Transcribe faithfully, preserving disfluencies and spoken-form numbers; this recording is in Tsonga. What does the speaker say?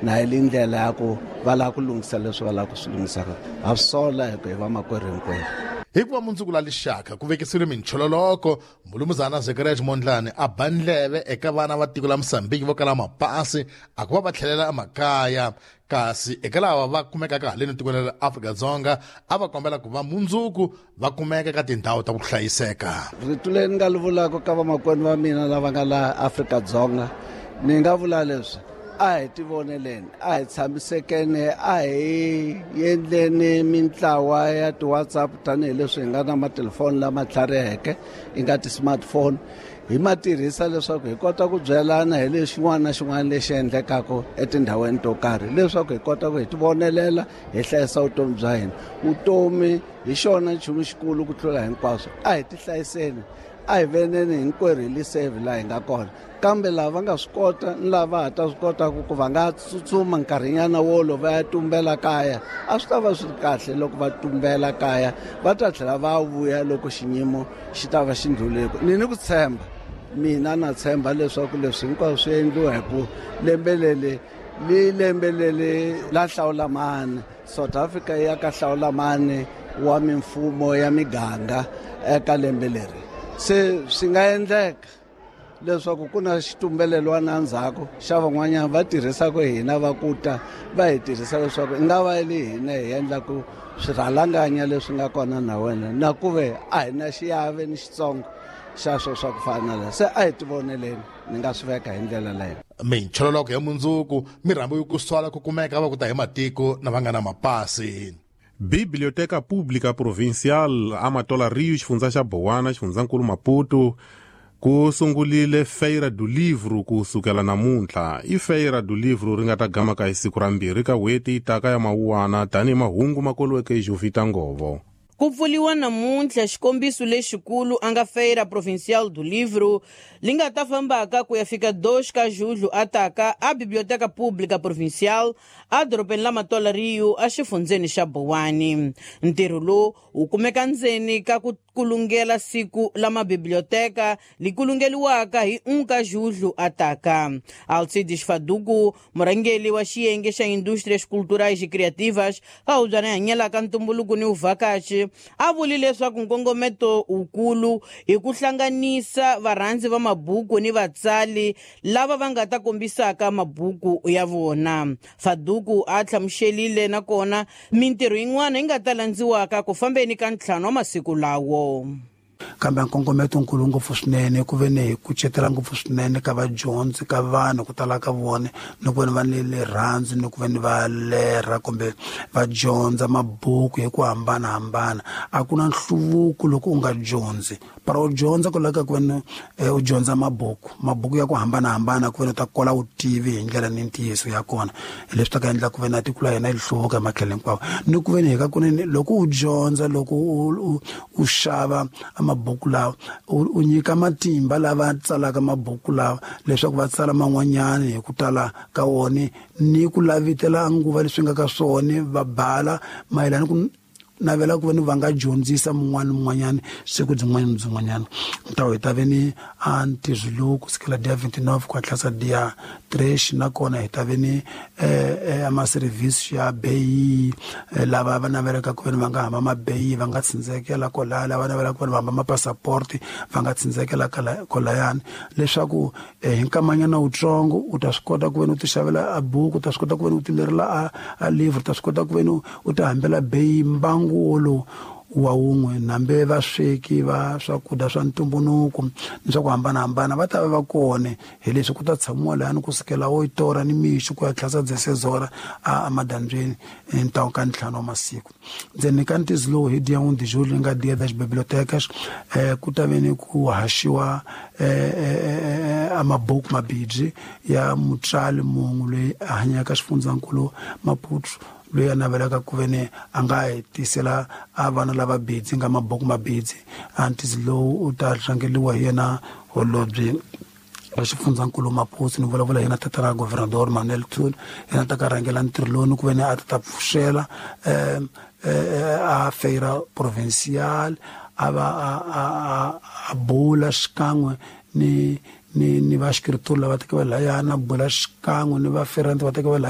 Na hi le ndlela ya ku va lava ku lunghisa leswi va lava ku swi lunghisaka. Ha swi sola hi ku hi vamakwerhu hinkwerhu. Hikuva mundzuku la lixaka ku vekisiwile minchololoko, Mulumuzana Zacharias Mondlane a ba ndleve eka vana va tiko la Mozambique vo kala mapasi a ku va va tlhelela emakaya, kasi eka lava va kumekaka haleni tikweni ra Afrika-Dzonga a va kombela ku va mundzuku va kumeka eka tindhawu ta ku hlayiseka. Rito leri ni nga li vulaka ka vamakwenu va mina lava nga laha Afrika-Dzonga, ni nga vula leswi: a hi tivoneleni, a hi tshamisekeni, a hi endleni mintlawa ya ti-WhatsApp tanihileswi hi nga na matelefoni lama tlhariheke, yi nga ti-smartphone, hi ma tirhisa leswaku hi kota ku byelana hi lexi xin'wana na xin'wana lexi endlekaka etindhawini to karhi, leswaku hi kota ku hi tivonelela, hi hlayisa vutomi bya hina. Vutomi hi xona nchumu xikulu ku tlula hinkwaswo. A hi tihlayiseni, a hi veneni hinkwerhu hi li save laha hi nga kona. Kambe lava va nga swi kota ni lava va ha ta swi kotaka ku va nga tsutsuma nkarhinyana wolowo va ya tumbela kaya, a swi ta va swi ri kahle loko va tumbela kaya, va ta tlhela va vuya loko xiyimo xi ta va xi ndlhulile. Ni ni ku tshemba, mina na tshemba leswaku leswi hinkwaswo swi endliwa hi ku lembe leri li lembe leri la hlawula mani, South Africa ya ka hlawula mani wa mimfumo ya miganga eka lembe leri. Se swi nga endleka leswaku ku na xitumbelelwana endzhaku xa van'wanyana va tirhisaka hina va ku ta va hi tirhisa leswaku i nga va le hina hi endlaku swirhalanganya leswi nga kona na wena, na ku ve a hi na xiave ni xitsongo xa swo swa ku fana na leswi. Se a hi tivoneleni, ni nga swi veka hi ndlela leyo. Minchololoko ya mundzuku mi rhambiwe ku swala ku kumeka va ku ta hi matiko na va nga na mapasi. Biblioteca Pública Provincial Amatola Rio, xifundza xa Bowana, xifundzankulu Maputo, ku sungulile Feira do Livro ku sukela namuntlha. I Feira do Livro ri nga ta gamaka hi siku ra mbirhi ka n'hweti taka ya Mawuwana, tanihi mahungu ma koliweke hi Jovita Ngovo. Ku pfuriwa namuntlha xikombiso lexikulu a nga Feira Provincial do Livro li nga ta fambaka ku ya fika dois ka julho ataka a Biblioteca Pública Provincial a dorobeni la Matola Rio a xifundzeni xa Bowani. Ntirho lowu wu kumeka ndzeni ka ku kulungela siku la mabiblioteka li kulungeliwaka hi um ka julho ataka. Alcides Faduku, murhangeri wa xiyenge xa Indústrias Culturais e Criativas ka hubyana yi hanyelaka ntumbuluko ni vuvhakachi, a vuli leswaku nkongometo wukulu hi ku hlanganisa varhandzi va mabuku ni vatsali lava va nga ta kombisaka mabuku ya vona. Faduku a hlamuselile nakona mintirho yin'wana yi nga ta landziwaka ku fambeni ka ntlhanu wa masiku lawo. Kambe nkongometo nkulu ngopfu swinene ku ve ni hi kucetela ngopfu swinene ka vadyondzi, ka vanhu ku tala ka vona, ni ku ve ni va ni rirhandzu, ni ku ve ni va lerha kumbe va dyondza mabuku hi ku hambanahambana. A ku na nhluvuko loko u nga dyondzi. Para u dyondza ku laveka ku ve ni, eh, u dyondza mabuku, mabuku ya ku hambanahambana, ku ve ni u ta kola vutivi hi ndlela ni ntiyiso ya kona. Hi leswi ta ka endla ku ve na tiko la hina yi hluvuka hi matlhelo hinkwawo. Ni ku ve ni hi ka kunene loko u dyondza, loko u, u, u xava mabuku lawa, u, u nyika matimba lava tsalaka mabuku lawa leswaku va tsala man'wanyana hi ku tala ka wona, ni ku lavitela nguva leswi nga ka swona, va bala mayelana ku navela ku ve ni va nga dyondzisa mun'wana ni mun'wanyana siku byin'wana ni byin'wanyana. Ntawo hi ta ve ni a ntirho lowu ku sukela dia vingt-neuf ku hatlisa dia tres, nakona hi ta ve ni, eh, eh, ama-service ya beyi, eh, lava va navelaka ku ve ni va nga hamba mabeyi va nga tsindzekela kwalaya, lava navelaka ku ve ni va hamba mapassaporti va nga tsindzekela kala-, kwalayani, leswaku, eh, hi nkamanyana wutsongo u ta swi kota ku ve ni u ti xavela a buku, u ta swi kota ku ve ni u ti lerela a, a livre, u ta swi kota ku ve ni u ti hambela beyi mbangu wolowo wa wun'we. Nambe vasweki va swakudya swa ntumbuluko ni swa ku hambanahambana va ta va va kona, hi leswi ku ta tshamiwa lahayani ku sukela oito hora ni mixo ku ya tlhasa dezesseis hora a, a madyambyini ntawu ka ntlhanu wa masiku. Ndzeni ka ntizo lowu hi dia un de julho nga dia das bibliotecas, eh, ku ta ve ni ku haxiwa, eh, eh, eh, a mabuku mabibyi ya mutswari munhu loyi a hanyaka xifundzankulu Maputo, loyi a navelaka ku ve ni a nga hi tisela a vana lava bidzi nga mabuku mabidzi. A ntizo lowu u ta rhangeriwa hi yena holobye wa xifundzankulu Maputo, ni vulavula hi yena tatana Governador Manuel Thuli, yena ta ka rhangela ntirho lowu ni ku ve ni a ta ta pfuxela, eh, eh, a Feira Provincial, a va a, a, a, a bula xikan'we ni, ni, ni va xikritori lava tekaka lahayana, bula xikan'we ni va ferante va tekaka lahayana.